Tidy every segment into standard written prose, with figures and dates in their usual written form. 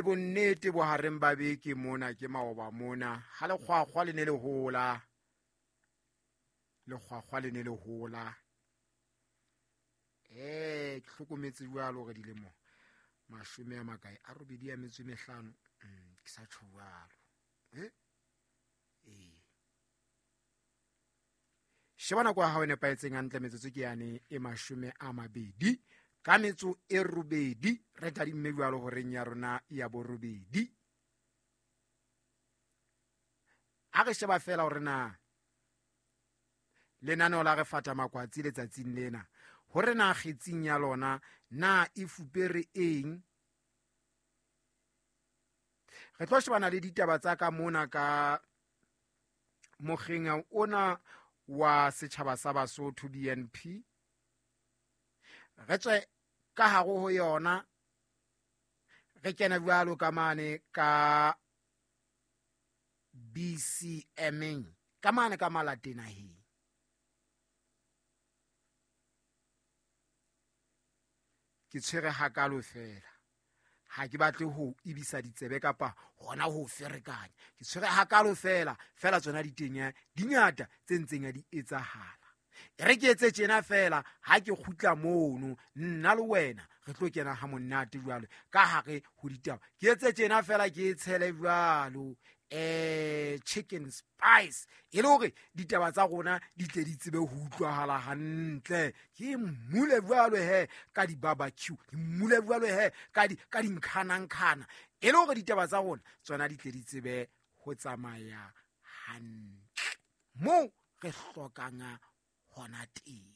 Bonnete bohareng ba beke mona ke maoba mona ha lekgwakgwa le ne le hola, lekgwakgwa le ne le hola. Ke hlokometse jwalo hore dilemo mashome a makae a robedi a metso e mehlano, ke sa tjho jwalo. Ee, sheba nako ya hao e nepahetseng hantle, metsotso ke yane e 28, re tadimme jwalo horeng ya rona ya borobedi. A re sheba fela hore na lenaneo la re fata makwatsi letsatsing lena, hore na kgetsing ya lona na e fupere eng. Re tlo shebana le ditaba tsa ka mona ka mokgeng ona wa setjhaba sa Basotho BNP. Re tswe ka hare ho yona, re kene jwalo ka mane ka BCM, ka mane ka Malatenaheng. Ke tshwere hakalo fela, ha ke batle ho ibisa ditsebe kapa hona ho ferekanya. Ke tshwere hakalo fela, fela tsona di teng di ngata tse ntseng di etsahala. E re ke etse tjena fela, ha ke kgutla mono nna le wena re tlo kena ha monate jwalo ka hare ho ditaba. Ke etse tjena fela, ke tshele jwalo chicken spice, e le hore ditaba tsa rona di tle di tsebe ho utlwahala hantle. Ke mmule jwalo he ka di-barbecue, ke mmule jwalo he ka dinkhanankhana, e le hore ditaba tsa rona tsona di tle di tsebe ho tsamaya hantle moo re hlokang hona teng.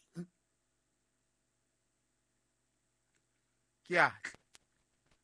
Ke a tla.